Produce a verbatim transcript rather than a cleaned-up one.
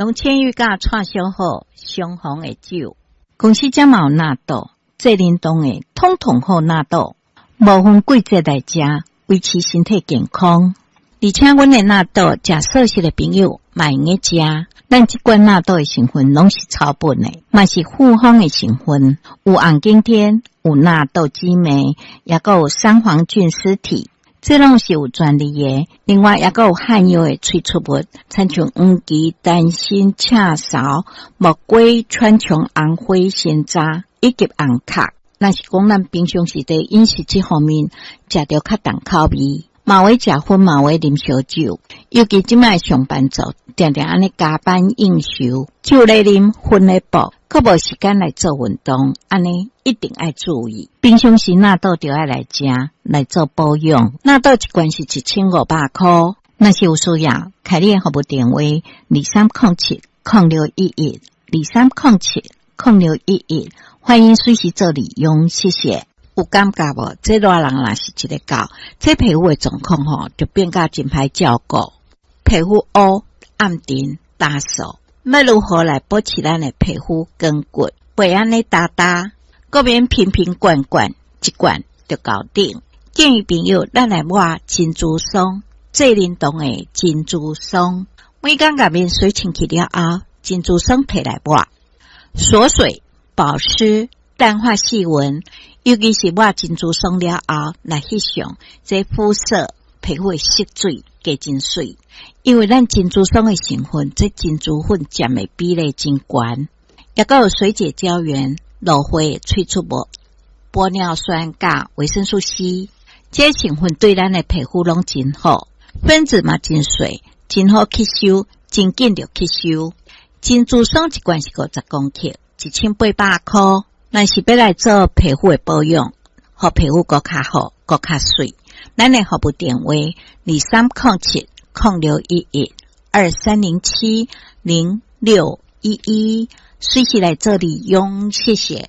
龍千玉佮蔡小好相逢的酒。公司遮嘛有納豆，濟冷凍的，統統好納豆，無分季節來食，維持身體健康。而且阮的納豆，食素食的朋友嘛會用得食。咱這罐納豆的成分攏是草本的，嘛是複方的成分，有紅景天，有納豆激酶，抑閣有桑黃菌絲體，這攏是有專利的。另外，抑閣有漢藥的萃取物，親像黃芪、丹參、赤芍、木瓜、川芎、紅花、山楂以及紅殼。若是講咱平常時佇飲食這方面食著較重口味，嘛會食薰，嘛會啉燒酒，尤其這擺上班族，定定按呢加班應酬，酒咧啉，薰咧爆，閣無時間來做運動，按呢一定愛注意。平常時納豆就愛來食，來做保養。納豆一罐是一千五百箍，若是有需要，開你的服務電話二三空七空六一一二三空七空六一一，歡迎隨時做利用，謝謝。有感覺無？這熱人若是一个到，這皮膚的狀況吼，就變甲真歹照顧，皮膚烏、暗沉、焦瘦。欲如何來保持咱的皮膚光滑？袂按呢焦焦，閣免瓶瓶罐罐，一罐就搞定。建議朋友，咱來抹珍珠霜，濟冷凍的珍珠霜。每工共面洗清氣了後，珍珠霜提來抹，鎖水、保濕、淡化細紋。尤其是抹珍珠霜了後，來翕相，這膚色皮膚的色水加真媠。因為咱珍珠霜的成分，這珍珠粉佔的比例真懸，抑閣有水解膠原、蘆花的萃取物、玻尿酸佮維生素 C，這成分對咱的皮膚攏真好，分子嘛真細，真好吸收，真緊就吸收。珍珠霜一罐是五十公克，一千八百箍。若是欲來做皮膚的保養，予皮膚閣較好，閣較媠。咱的服務電話二三空七空六一一二三零七零六一一，隨時來做利用，謝謝。